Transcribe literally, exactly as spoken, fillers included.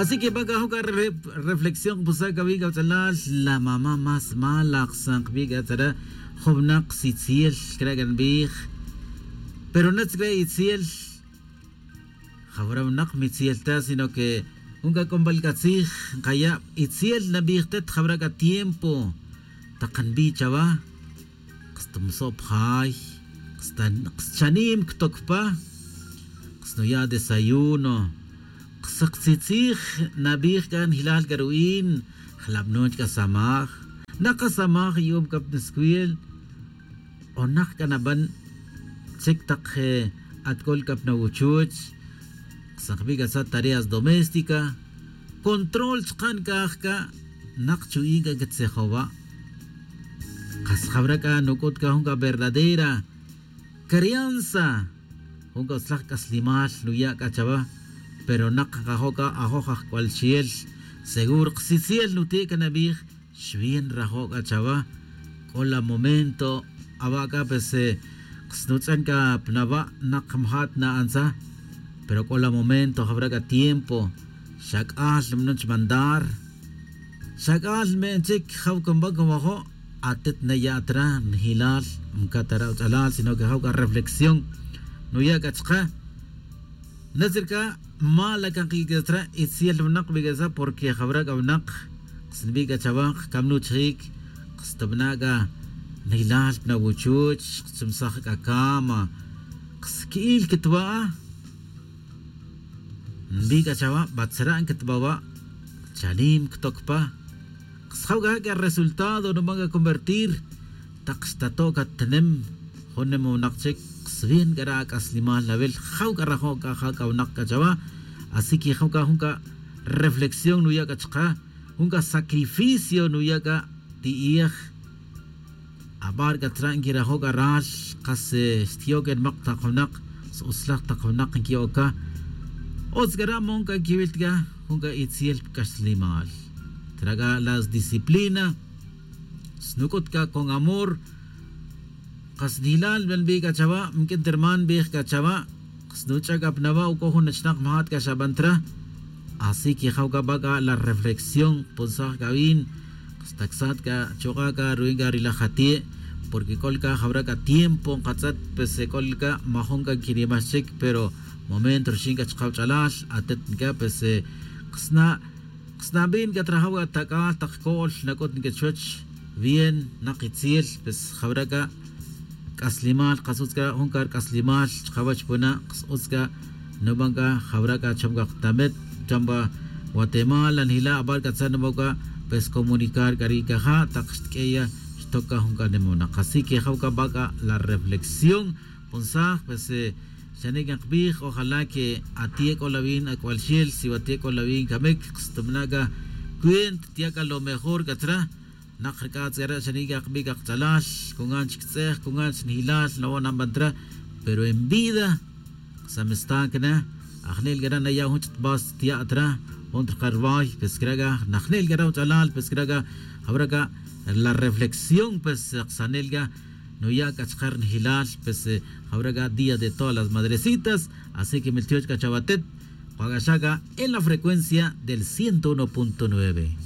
Así que baca joca reflexión pusaca vica ch'alal la mamá más mala xsan kbica tzara. Jovnak sitziel craca nbij. Pero natz cra itziel. Jawra wnak mitziel ta sino que junca c'ombal c'a tzij nkaya' itziel nabij tet jawra c'a tiempo. Tak nbi chawa. Kstmso' pjay. Kschanïm ktok pa. Ksnuya' desayuno. Ksaktzijtzij nabij c'a njilal c'a ru'in. Jlabnon c'a samaj. Nakasamaj yu'um c'a pniscuel. O nak c'a naban chic tak atc'ul c'a pnawuchuch. Ksakbi c'a sa tareas doméstica. Control chka' ncaj c'a. Nak chu'in c'a quitzejowa'. Kas jawra c'a nuc'ut c'a jun c'a verdadera crianza. Jun c'a utzlaj c'aslimal nuya' c'a chawa. Pero nak nkajo' c'a ajoj ajc'ual xiel. Seguro ksitziel nuti' c'a nabij. Xwin rajo' c'a chawa. C'o la momento awa' c'a pues ksnutz'an c'a pnawa' nak mjat na'antza. Pero c'o la momento jawra c'a tiempo. Xa c'al nb'anun chmandar. Xa c'al nb'en chic jaw cumba cumajo'. Atet naya' tra njilal. Mcatara' uch'alal sino que jaw c'a reflexión nuya' c'a chka. Natzir c'a mala can kiq'uic' tra itziel wnak bic'etza porque jawra c'a wnak. Ksnbi c'a chawa kcamnuchjic. Kstbna' c'a njilal pnawuchuch. Kchumsaj c'a cama. Ksqui'il quitba'a. Nbi c'a chawa batzra' nquitbawa'. Chanim ctoc pa. Ksjaw c'a ja' c'a resultado nuban c'a convertir. Tak xtato' c'a tnem jun nim wnak chic. Ksbin c'a ra ac'aslimal nawil jaw c'a rajo' c'a ja' c'a wnak c'a chawa. Así que jaw c'a jun c'a reflexión nuya' c'a chka. Jun c'a sacrificio nuya' c'a ti'ij. Abar c'a tra' nquirajo' c'a ral. Kas xtyo' c'a nimak tak wnak. S-utzlaj tak wnak nquiyo' c'a. Utz c'a ra' mon c'a nquiwil c'a jun c'a itziel pc'axlimal. Tra' c'a la sdisciplina. Snuc'ut c'a con amor. Kas njilal nb'an bi c'a chawa' mq'uin terman nbij c'a chawa'. Snuch'a' c'a pnawa' uc'o jun achnak majat c'a xaban tra. Así que jaw c'a ba c'a la reflexión punsaj c'a win. Stacsat c'a chuk'a' c'a ruin c'a ri laj atie'. Porque c'ol c'a jawra c'a tiempo nkatz'et pues c'ol c'a majun c'a nquinimaj chic pero momento rixin c'a chkaw ch'alal atet c'a pues. Ksna' ksnabin c'a trajaw c'a tac'al tak co'l nac'ut nqui chuwech. Bien nak itziel pues jawra c'a c'aslimal kas utz c'a jun c'a ri c'aslimal chkawech puna' kas utz c'a nuban c'a jawra c'a cham c'a ktamet cham c'a guatemala njila' abar c'a tzan nuban c'a pues comunicar c'a ri' c'a ja' tak xtq'ueya xtoc c'a jun c'a nimunak así que jaw c'a ba c'a la reflexión. Punsaj pues xane' c'a nkbij ojalá que atie' c'o la win ac'ual xel si watie' c'o la win camic kstbna' c'a cuenta tia' c'a lo mejor c'a tra. Nak rc'atz c'a re' xane' c'a kbic c'a ktzalal cungan chic tz'ej cungan chi njilal nawo' naban tra. Pero en vida samestan c'a na ajnel c'a ra' naya' jun ch'tbas tia' tra. Jun trka rway pues c'a ra' c'a najnel c'a ra' jun ch'alal pues c'a ra' c'a jawra c'a la reflexión pues ksanel c'a nuya' c'a chka ri njilal pues jawra c'a día de todas las madrecitas. Así que miltioch' c'a chawatet. K'o c'a xa c'a en la frecuencia del ciento uno punto nueve.